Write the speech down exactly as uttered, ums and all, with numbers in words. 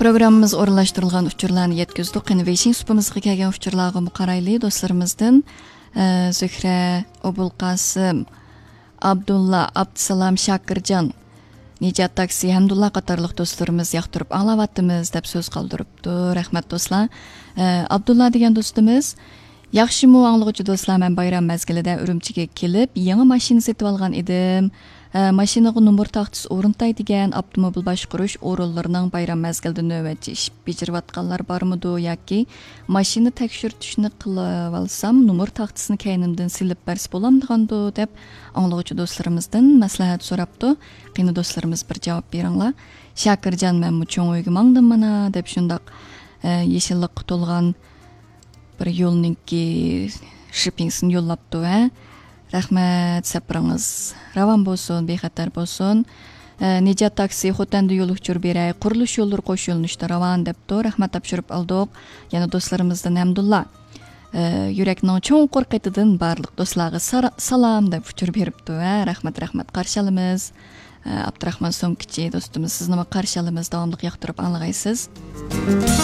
پروگراممىمىز ئورۇنلاشتۇرۇلغان ئۇچۇرلارنى يەتكۈزدۇق. قېنى، ۋېيشىڭ سۇپىمىزغا كەلگەن ئۇچۇرلارغىمۇ قارايلى. دوستلىرىمىزدىن، ئە، زۆھرە، ئوبۇلقاسىم، ئابدۇللا، ئابدۇسالام، شاكىرجان، نىجات تاكسى، ھەمدۇللا قاتارلىق دوستلىرىمىز ياقتۇرۇپ ئاڭلاۋاتىمىز دەپ سۆز قالدۇرۇپتۇ. رەھمەت دوستلار. ئە، ئابدۇللا دېگەن دوستىمىز، ياخشىمۇ ئاڭلىغۇچى دوستلار، مەن بايرام مەزگىلىدە ئۈرۈمچىگە كېلىپ، يېڭى ماشىنا سېتىۋالغان ئىدىم. ئە، ماشىنىغا نومۇر تاختىسى ئورنىتاي دېگەن ئاپتوموبىل باشقۇرۇش ئورۇنلىرىنىڭ بايرام مەزگىلىدە نۆۋەتچى ئىش بېجىرىۋاتقانلار بارمىدۇ ياكى ماشىنا تەكشۈرتۈشنى قىلىۋالسام، نومۇر تاختىسىنى كەينىمدىن سېلىپ بەرسە بولامدىغاندۇ دەپ ئاڭلىغۇچى دوستلىرىمىزدىن مەسلىھەت سوراپتۇ. قېنى دوستلىرىمىز، بىر جاۋاب بېرىڭلار. شاكىرجان، مەنمۇ چوڭ ئۆيگە ماڭدىم مانا دەپ شۇنداق، ئە، يېشىللىققا تولغان بىر يولنىڭكى شىپىڭسىنى يوللاپتۇ، ھە. رەھمەت، سەپىرىڭىز راۋان بولسۇن، بىخەتەر بولسۇن. ئە، نىجات تاكسى، خوتەندە يول ئۇچۇر بېرەي، قۇرۇلۇش يوللىرى قوش يۆنىلىشتە راۋان دەپتۇ. رەھمەت، تاپشۇرۇپ ئالدۇق. يەنە دوستلىرىمىزدىن ھەمدۇللا، ئە، يۈرەكنىڭ چوڭقۇر قېتىدىن بارلىق دوستلارغا سارا-، سالام دەپ ئۇچۇر بېرىپتۇ، ھە. رەھمەت، رەھمەت، قارشى ئالىمىز. ئە، ئابدۇراخمان سومكىچى دوستىمىز، سىزنىمۇ قارشى ئالىمىز، داۋاملىق ياقتۇرۇپ ئاڭلىغايسىز.